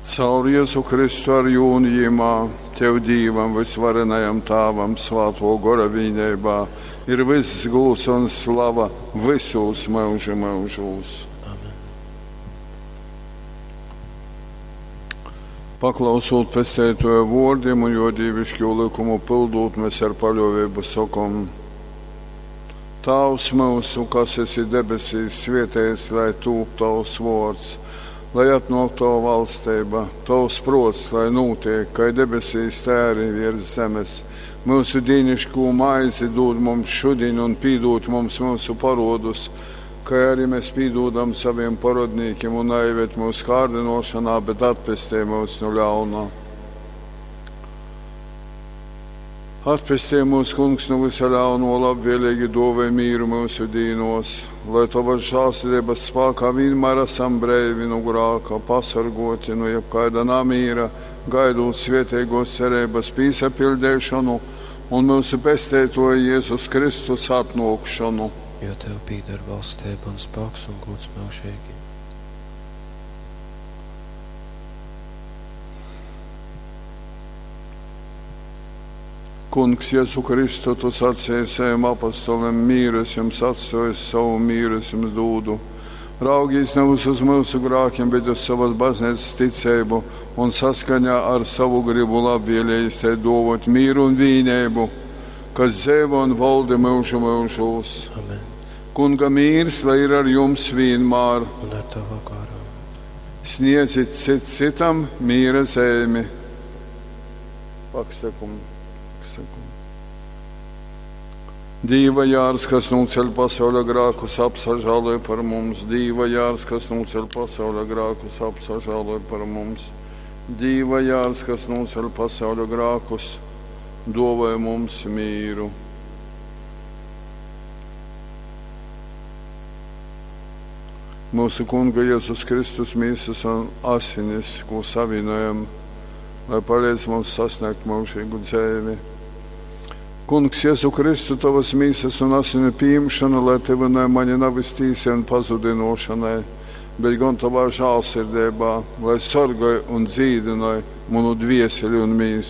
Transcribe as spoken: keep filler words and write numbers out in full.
Caur Jezu Kristu ar jū un jimā, Tev Dīvam, vysvarenajam Tāvam, Svātō Gora vīneibā, ir vyss gūds un slava vysūs myužu myužūs. Amen. Paklausūt Pesteitōja vōrdim un jō dīviškū lykumu pyldūt, mēs ar paļōveibu sokom: Tāvs myusu, kas esi debesīs, svēteits lai tūp tovs vōrds, lai atnōk tova valsteiba, tovs prōts, lai nūtiek, kai debesīs, tai arī viers zemes. Myusu dīniškū maizi dūd mums šudiņ un pīdūd mums myusu parodus, kai arī mēs pīdūdam saviem parodnīkim, un naieved mūsu kārdinošanā, bet atpestī mūs no ļauna. Atpestī mūs, Kungs, no visa ļauno, labvēlīgi dāvāj mīru mūsu dīnos, lai Tavas žēlsirdības spēkā vienmēr esam breivi no grāka, pasargoti no jebkāda namīra, gaidot svētīgos cerības pīsapildīšanu un mūsu Pesteitoja Jēzus Kristus atnākšanu. Jo Tev pīder valstība un spēks un gods mūžīgi. Kungs, Jēzu Kristu, tu sacīji saviem apostoliem, mīru es jums atstāju, savu mīru es jums dūdu. Raugīs nevis uz mūsu grākiem, bet uz savas baznīcas ticību un saskaņā ar savu gribu labvēlējis te dovot mīru un vīnību, kas dzīvo un valda mūžu mūžos. Amen. Kunga mīrs, lai ir ar jums vienmēr. Un ar Tavu garu. Sniedzit cit citam mīra zīmi. Pakstekum. Pakstekum. Dīva jārs, kas nūceļ pasauļa grākus, apsažāloj par mums. Dīva jārs, kas nūceļ pasauļa grākus, apsažāloj par mums. Dīva jārs, kas nūceļ pasauļa grākus, dāvāj mums mīru. Mūsu Kunga Jēzus Kristus mīsas un asinis, ko savienojam, lai palīdz mums sasniegt mūžīgu dzīvi. Kungs, Jēzu Kristu, tavas mīsas un asinu pieņemšana, lai tevi mani nav iztīsi un pazudinošanai, bet gan tavā žālsirdībā, lai sargāj un dzīdinoj manu dvieseli un mīsu.